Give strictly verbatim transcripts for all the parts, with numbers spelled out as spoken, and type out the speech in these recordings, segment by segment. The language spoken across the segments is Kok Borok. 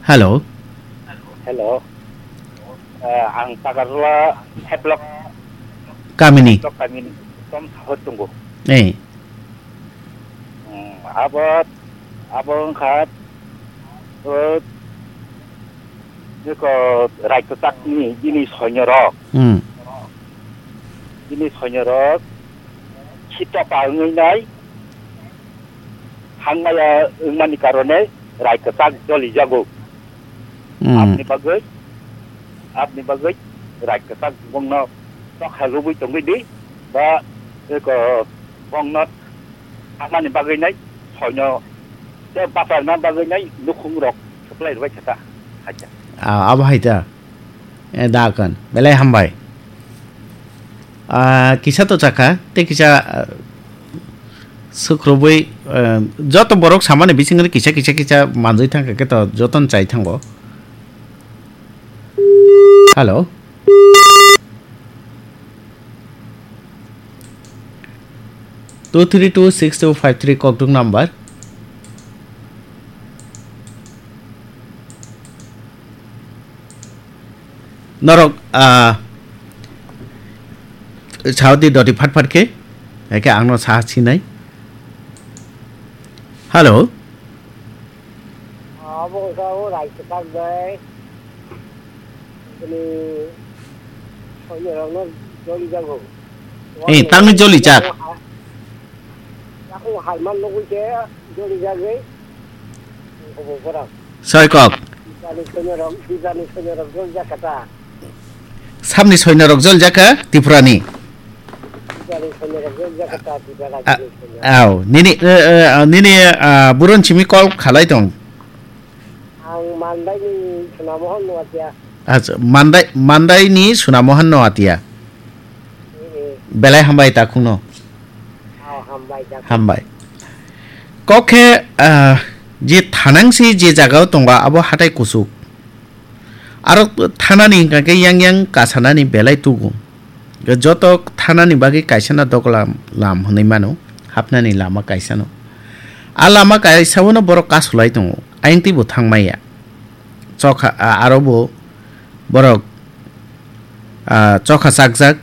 Hello. Hello. Eh, ang Takarjala Heblok, Kamini. Heblok kamini. Tom sahor tongo. Eh. Hmm, abo, abo wngkha, eh, jeko Raikasakni bini soinyorok. Hmm. Bini soinyorok sitopa wngwi nai. Hangmaya wngmani karone Raikasak jolijago. Hmm. Aboni bagwi, aboni bagwi Raikasak bongno tokha lubui tongwi di, ba eko bongno thangmani bagwi nai soino tei bacharna bagwi nai nukhung rok supply rwbai kha ta, hacha. Ah, abo hai ta. Eh, da kan. Belai hambai. Ah, kisa to chakha, tei kisa, ah, sukrubui, ah, joto borok samani bisingni kisa, kisa, kisa manjui thangkha khe to jotono chai thango. Hello. Two three two six two five three kokduk number. Norok, ah, saudi doti phat phat khe, eke angno sa sinai. Hello. Abo wngkha o Raisokak bai. Bini soinorokno jolijago. Eh, tangni jolijak. Yakung halman nugwi khe jolijagwi. Obo borok. Soikok. Tibani soinorok, tibani soinorok jolijak kha ta. Samni soinorok jolijak kha Tripurani. Tibani soinorok jolijak kha ta, Tripura A-, rajyoni soinor. Aw, nini, eh, eh, nini, ah, buron simi call khalai tong. Ang Mandaini Sunamohan Noatia. Acha, Mandai, Mandaini Sunamohan Noatia. Eh, eh. Belai hambai takhungno. Oh, hambai takhung. Hambai. Kok khe, ah, je thanangsi je jagao tongo abo hatai kuchuk. Aro thanani hwnkha khe yang yang kasanani belai tugo. Joto thanani bagwi kaisano doglam lam hwnwi mano, hapnani lama kaisano. A lama kaisao no borok kasulai tongo, ayang teibo thangmaya. Chokha, a-, aro bo borok, a, chokha chakjak.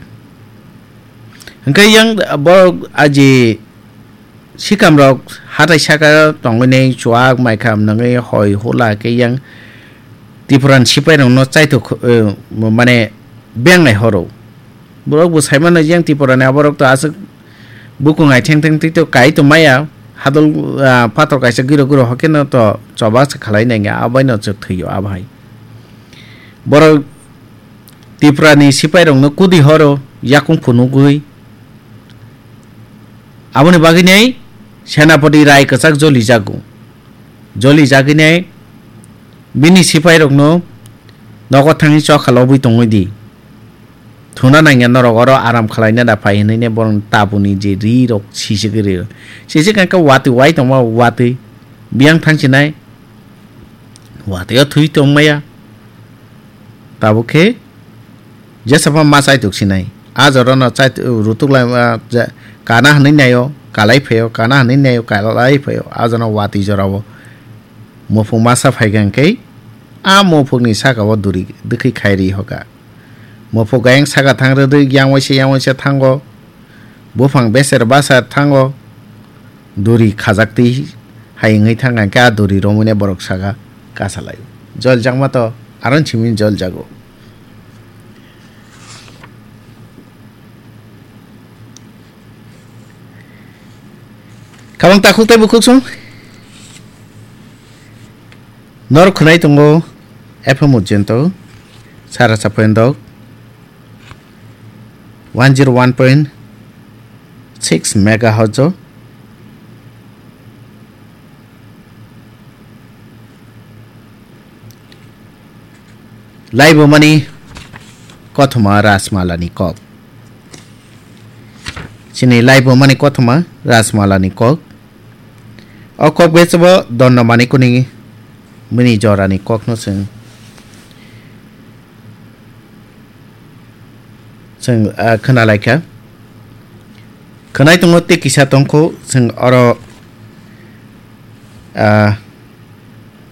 Hwnkhe yang borok aji Sikamrok hatai saka tongwi nai chuak maikha nangwi hoi hula khe yang Tipuran sipairokno chaitok, eh, mane bengnai horo. Borok bo saimano yang Tipurani aborok to aswk bukung ai theng theng twi to kai to maya hadol, ah, pator kaisa giro giro hokeno to choba se khalai nai abaino chwk thwio abahai. Borok Tiprani sipairokno kudi horo yakung phunugwi. Aboni bagwinai Senapati Rai kwchak jolijago. Jolijaginai bini sipairokno nogo thangwi chokha lobwi tongwi di. Thuna nangya norok oro aram khwlaina da phai hwnwi ne borokni tabukni je ri rok sisik ri rok. Sisik hwnkhe watwi wai tongma watwi biyang thangsinai. Watwi o thwi tongmaya. Tabuk khe jesa pha ma chaitok sinai. A jorano chait-, rutuk lai, ah, ja-, kana hwnwi naio, kalai phaio, kana hwnwi naio, kalai phaio. A jorano watwi jorao muphung masa phaikha hwnkhe a muphungni sakao duri dwkhwi khai ri hoka. Muphung gayang saka thang rwdwi yang waisa yang waisa thango. Buphang beser basa thango. Duri khajaktwi hai wngwi thangkha hwnkhe a duri romwini borok saka kasalai. Jol jakma to aron simi jol jago. Kabang takhuk tei bukhuk song. Norok khwnai tongo F M Ujjento, Sara Saphendok, one zero one point six megahertz o. Laibumani kothoma Rajmalani kok. Chini laibumani kothoma Rajmalani kok. O kok bechebo Dondamani kuni mini jorani kokno chwng, chwng, ah, khwnalaikha. Khwnai tongo tei kisa tongkho chwng oro, ah,